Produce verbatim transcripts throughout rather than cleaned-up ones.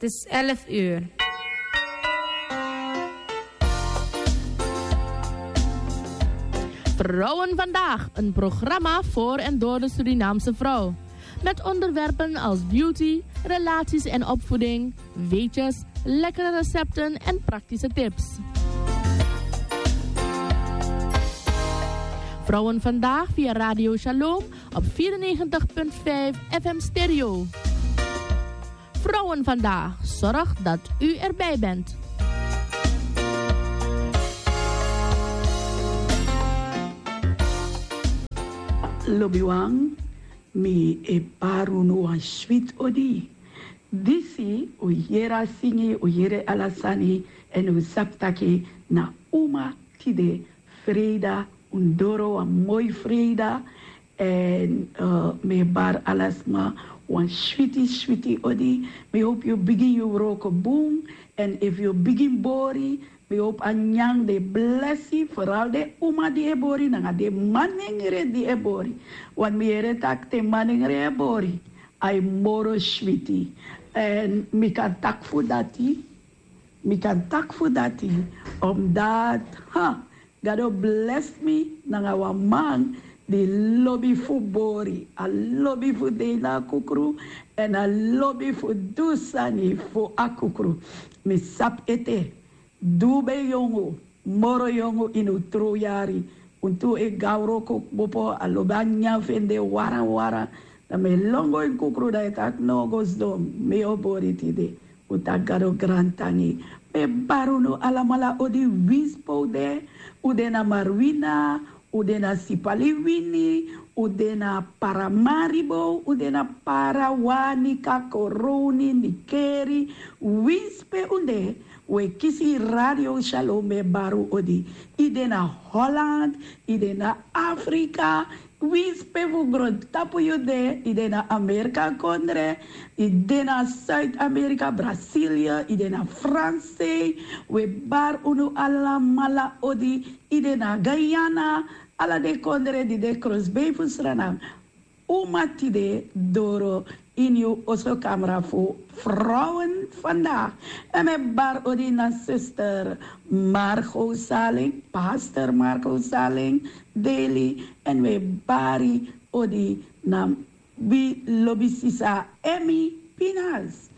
Het is elf uur. Vrouwen Vandaag, een programma voor en door de Surinaamse vrouw. Met onderwerpen als beauty, relaties en opvoeding, weetjes, lekkere recepten en praktische tips. Vrouwen Vandaag via Radio Shalom op vierennegentig punt vijf F M Stereo. Vrouwen Vandaag, zorg dat u erbij bent. Lobiwan, mi e bari unu wan switi odi. Disi un yere a singi, un yere ala sani, èn un sabi taki na uma tide, freida, un doro wan moi freida. Èn, eh, mi e bari ala sma wan switi switi odi. Mi howpu yu bigin yu wroko bun. Èn efu yu bigin bori, mi howpu a nyanyan de blesi, vooral den uma di e bori nanga den manengre di e bori. Want mi yere taki te manengre e bori, a e moro switi. Èn mi kan taki fu dati, mi kan taki fu dati, omdat, ha, Gado blesi mi nanga wan man di lobi fu bori, a lobi fu de ini a kukru, èn a lobi fu du sani fu a kukru. Mi sabi ete, di un ben yongu, moro yongu ini un trowyari, un tu e go na wroko kmopo, a lobi a nyanyan fu en de warawara. Dan mi e lon go ini kukru, dan yu e taki no, go sidon, mi o bori tide. Un taki Gado grantangi. Mi e bari unu alamala odi, winsi pe un de, un de na Marowijne, un de na Sipaliwini, un de na Paramaribo, un de na Para, Wanica, Coronie, Nickerie, winsi pe un de, un e kisi Radio Shalom. Mi e bari un odi. Yu de na Holland, yu de na Afrika, winsi pe fu grontapu yu de, yu de na Amerika kondre, yu de na Zuid-Amerika, Brazilië, yu de na Frankrijk, un e bari unu alamala odi, yu de na Guyana, ala den kondre di de krosbei fu Sranan. Uma tide doro ini yu oso kamra fu Vrouwen Vandaag. Èn mi e bari odi na zuster Margot Saling, pastor Margot Saling, Deli, èn mi e bari odi na wi lobi sisa Emmy Pinas.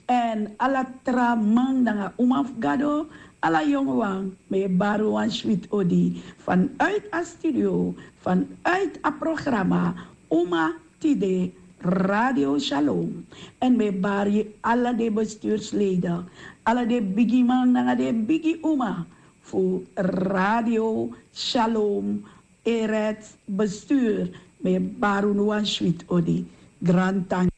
Èn ala tra man nanga uma fu Gado, ala yonguwan, mi e bari wan switi odi vanuit a studio, vanuit a programma Uma Tide, Radio Shalom. Èn mi e bari ala den bestuursleden, ala den bigiman nanga den bigi uma fu Radio Shalom, Eretz Bestuur. Mi e bari unu wan switi odi. Grantangi.